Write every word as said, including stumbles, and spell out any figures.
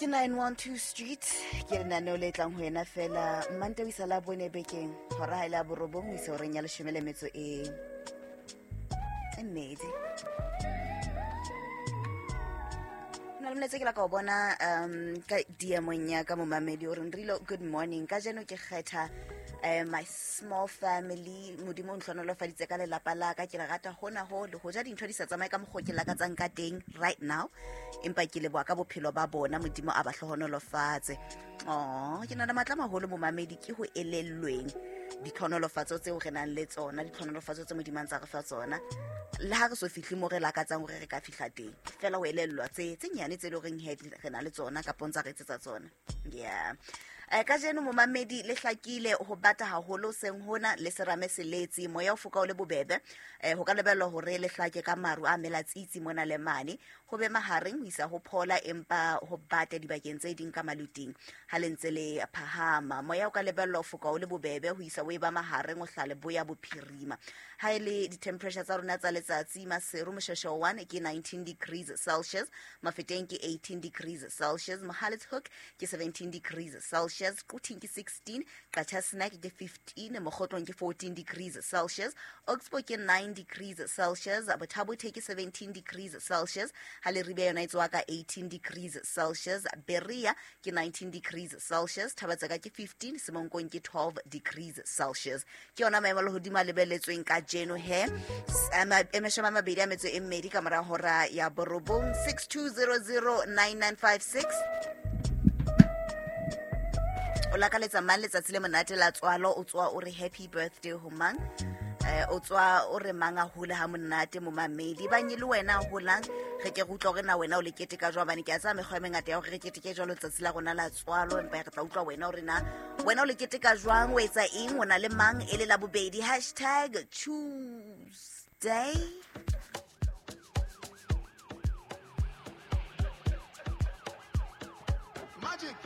Ke nine one two Street, ke lenaneo le tlang ho yena fela Mmantaha ho isa la bone bekeng, hora ha e le ya borobong ho isa horeng ya leshome le metso e e mmedi. Na le molaetsa ke la ka o bona um ka D M-ong ya ka momamedi o re Nrilo, good morning. Kajeno ke kgetha eh, my small family. Modimo o ntlhonolofaditse ka lelapa la ka, ke le rata hona ho le hoja dintho di sa tsamaye ka mokgwa o ke lakatsang ka teng right now, empa ke leboha ka bophelo ba bona, Modimo a ba hlohonolofatse. Oh, ke na le matla a maholo momamedi, ke ho elellweng ditlhonolofatso tseo re nang le tsona, ditlhonolofatso tse Modimo a ntsa re fa tsona, le ha re so fihle mo re lakatsang hore re ka fihla teng, fela ho elellwa tse, tse nyane tse leng horeng he re na le tsona kapa ntsa re etsetsa tsona. Yeah. Eh, kajeno momamedi le hlakile ho bata haholo seng hona le serame seletsi, moya o foka o le bobebe. Eh, ho ka lebellwa hore le hlake ka maru a melatsitsi mona le mane, ho be mahareng ho isa ho phola, empa ho bata dibakeng tse ding ka maluting ha le ntse le phahama. Moya o ka lebellwa ho foka o le bobebe ho isa o e ba mahareng ho hlale boya bophirima. Ha e le di-temperature tsa rona tsa letsatsi, Maseru Moshweshwe one ke nineteen degrees Celsius, Mafeteng ke eighteen degrees Celsius, Mohale's Hoek ke seventeen degrees Celsius, Quthing ke sixteen, Qacha's Nek ke fifteen, Mokhotlong ke fourteen degrees Celsius, Oxbow ke nine degrees Celsius, Botha-Bothe ke seventeen degrees Celsius, ha Leribe yona e tswa ka eighteen degrees Celsius, Berea ke nineteen degrees Celsius, Thabatseka ke fifteen, Semonkong ke twelve degrees Celsius. Ke yona maemo a lehodimo a lebelletsweng kajeno he. S-, a ma-, e mashome a mabedi a metso e mmedi ka mora hora ya borobong, six two zero zero nine nine five six. O lakaletsa mang letsatsi le monate la tswalo, o tswa o re happy birthday ho mang? Eh, o tswa o re mang a hole ha monate momamedi. Bang e le wena a holang, re ke re utlwa hore na wena o le keteka jwang, hobane ke a tseba mekgwa e mengata ya hore re keteke jwalo letsatsi la rona la tswalo, empa re tla utlwa wena hore na wena o le keteka jwang, o etsa eng, o na le mang e le la bobedi. Hashtag Tuesday. Magic.